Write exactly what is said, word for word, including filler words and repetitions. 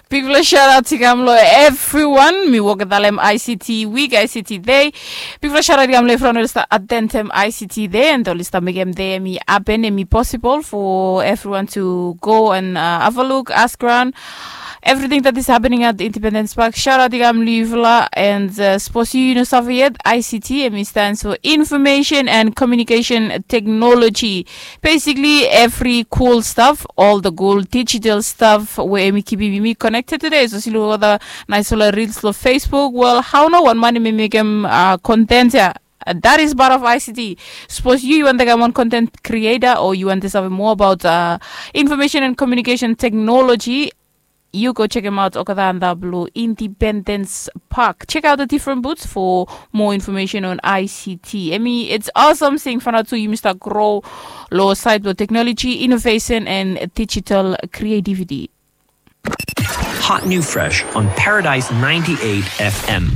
Bigfala shout out i kam long everyone. Mi wok talem I C T week, I C T day. Bigfala shout out i kam long everyone oli stap atentem I C T day and oli stap mekem day em i happen, em i possible for everyone to go and uh, have a look, ask around everything that is happening at Independence Park. Shout out i kam long yufala and uh, suppose yu no save yet, I C T em i stands for Information and Communication Technology. Basically every cool stuff, all the cool digital stuff wey em i kipim yumi connected today. So si luk olgeta naisfala reels long Facebook. Well, hao nao wan man em i mekem uh, content ya. Uh, that is part of I C T. Suppose yu yu want to become one content creator or yu want to save more about uh, information and communication technology, you go check him out okada and blue Independence Park. Check out the different booths for more information on I C T. I mean, it's awesome seeing Fanatu Yumista grow low side with technology, innovation, and digital creativity. Hot new fresh on Paradise ninety-eight F M.